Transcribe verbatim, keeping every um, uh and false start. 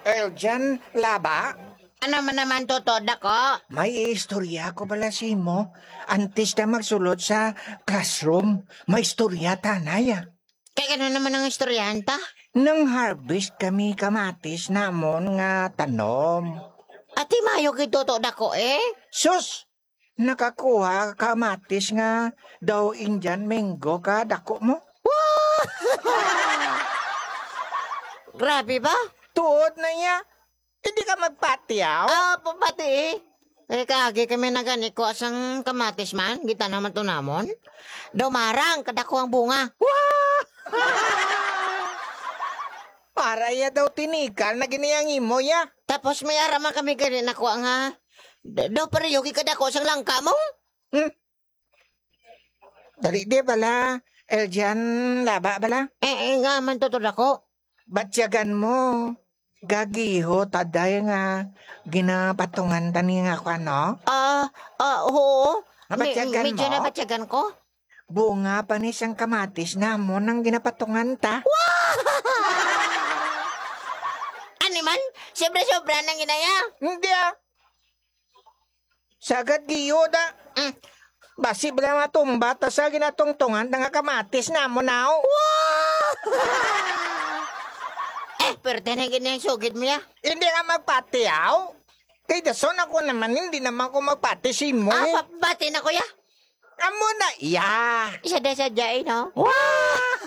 Eljan Laba? Ano man naman, Toto Dako? May istorya ko pala simo. Antes na magsulod sa classroom, may istorya tanay, ah. Kay ano naman ang istoryahan ta? Nang harvest kami kamatis namon nga tanom. Ati mayo gid, Toto Dako, eh. Sus! Nakakuha kamatis nga daw Indian mango ka dako mo. Grabe ba? Tuod na iya. Hindi ka magpatiaw? Ah, papati eh. Eh, kaagi kami na gani ko asang kamatis man, gitanaw man to namon. Daw marang, kadako ang bunga. Wah! Para iya daw tinikal na gini ang imo, ya. Tapos may ara man kami gani nakuha nga, d-, daw pareho gid kadako sang langka mo. Hmm. Dali di bala, Eljan Laba bala? Eh, eh, nga man, Toto Dako. Batyagan mo. Gagiho, taday nga ginapatungan tani nga kwan, no? Ah, ah, oo. Nabatyagan Me-, medyo mo? Nabatyagan ko. Bunga pa ni sang kamatis namon ang ginapatungan ta. Ani man? Sobra-sobra nang ginaya. Hindi, ah. Sagad giyo da. Mm. Basi bala matumba ta sa ginatungtungan ta nga kamatis namon, aw. Eh, perte na gid ang sugid mo, ya. Hindi ka magpati, aw. Kay dason ako naman, hindi naman ko magpati sa imo. Ah, pa-, pati na, kuya. Amo na, ya. Sadya-sadya, eh, no? Wow!